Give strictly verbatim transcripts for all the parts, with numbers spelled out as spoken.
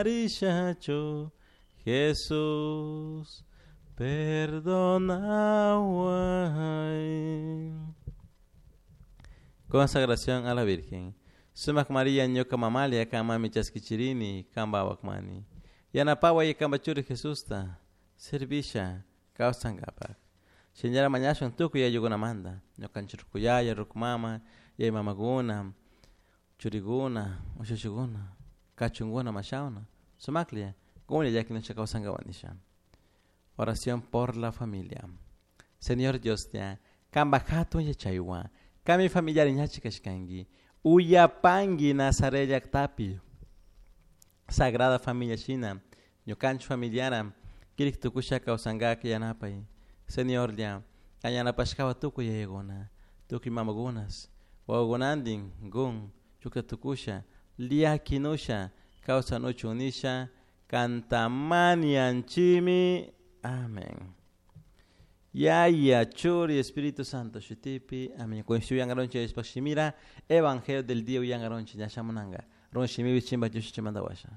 Rishachu Jesús perdonaway. Consagración a la Virgen. Sumak María ñuka mamalia kamami chaskichirini kambawakmani. Yanapaway kambachuri Jesusta servisha kawsankapak. Señora mañashun tukuy ayukunamanta. Ñukanchik rukuyaya, rukumama, yay mamakuna, churikuna, ushushikuna, kachunkuna mashawna. Sumaklia, kumli llakinucha kawsankawanisha. Oración por la familia. Señor Dios ya, kamba hatun yachaywan, kami familiar ñachi kashkanki, uyapanki Nazaret llaktapi, Sagrada Familia shina, ñukanchik familiara, kirik tukusha kawsankaka yanapay. Señor ya, yanapashkawa tukuy yayakuna, tukuy mamakunas, wawakunantin gun, chukta tukusha, llakinusha, kawsanuchun nisha, kantamanianchimi. Amén. Yaya, Churi, Espíritu Santo, Shutipi. Amén. Con yangaronchi Shimira, Evangelio del día yangaronchi, Yashamunanga. Ron Shimibi Chimba Yushimandawasha.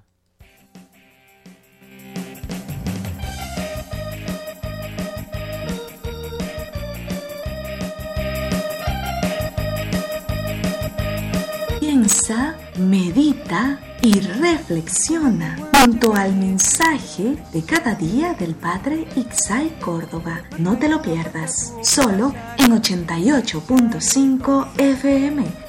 Piensa, medita y reflexiona junto al mensaje de cada día del Padre Ixay Córdoba. No te lo pierdas, solo en ochenta y ocho punto cinco F M.